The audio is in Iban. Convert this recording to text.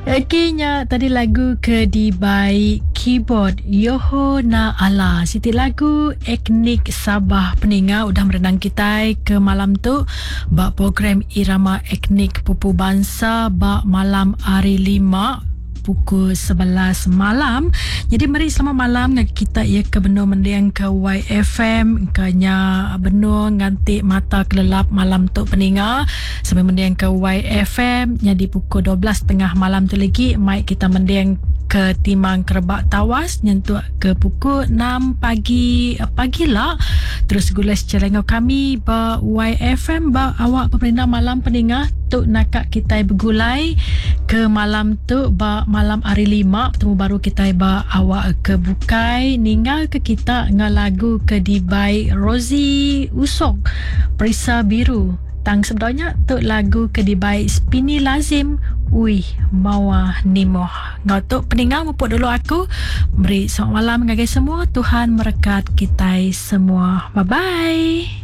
Okey nya tadi lagu ke dibai keyboard Yoho Na Ala. Siti lagu etnik Sabah peninga udah merenang kitai ke malam tu ba program Irama Etnik Pupu Bansa ba malam hari lima pukul 11 malam. Jadi meri selamat malam ngagai kita iya ke benung mending ke YFM ke nya benung nganti mata kelelap malam tu peninga. Sambil mending ke YFM nyadi pukul 12.30 malam tu lagi mai kita mending ke Timang Kerebak Tawas nyentuk ke pukul 6 pagi pagi la terus gulai secara enggau kami ba YFM ba awak pemerintah malam peninga tu naka kitai begulai ke malam tu ba malam hari lima betemu baru kitai ba awak ke bukai ninggal ke kita enggau lagu ke dibai Rosie Usok Perisa Biru. Tang sebedau nya tu lagu ke dibai Spini Lazim Uih Mawa Nimoh. Enggau tu peninga mupuk dulu aku meri selamat malam ngagai semua Tuhan merekat kitai semua. Bye bye.